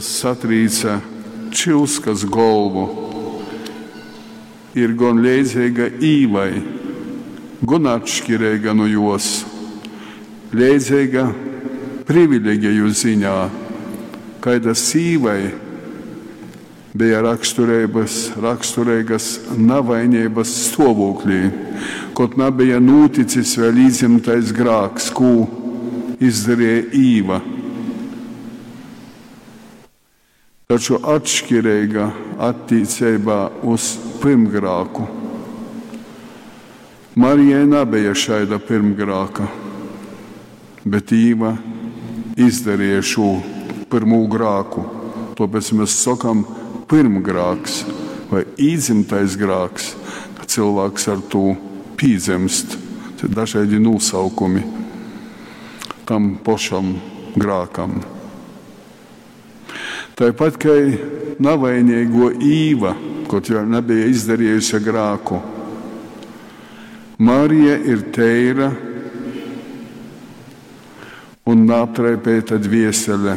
Satrīce čyuskas golvu, ir gon leidzeiga Īvai, gon atškireiga nu juos. Leidzeiga privilegeju ziņā, kaidas Īvai beja rakstureigas navaineibas stuovūklī, kod nabeja nūticis vēļ īdzymtais grāks, kū izdareja Īva. Taču atškireiga attīceibā uz pyrmgrāku. Marijai nabeja šaida pyrmgrāka, bet Īva izdarīja šū pyrmū grāku. Tāpēc mēs sakam pyrmgrāks vai īdzimtais grāks, ka cilvēks ar to pīdzemst. Te dažādi nosaukumi tam pašam grākam. Tāpat kā navainīgo Īva, kaut vēl nebija izdarījusi grāku, Marija ir teira un neaptraipēta dviesele.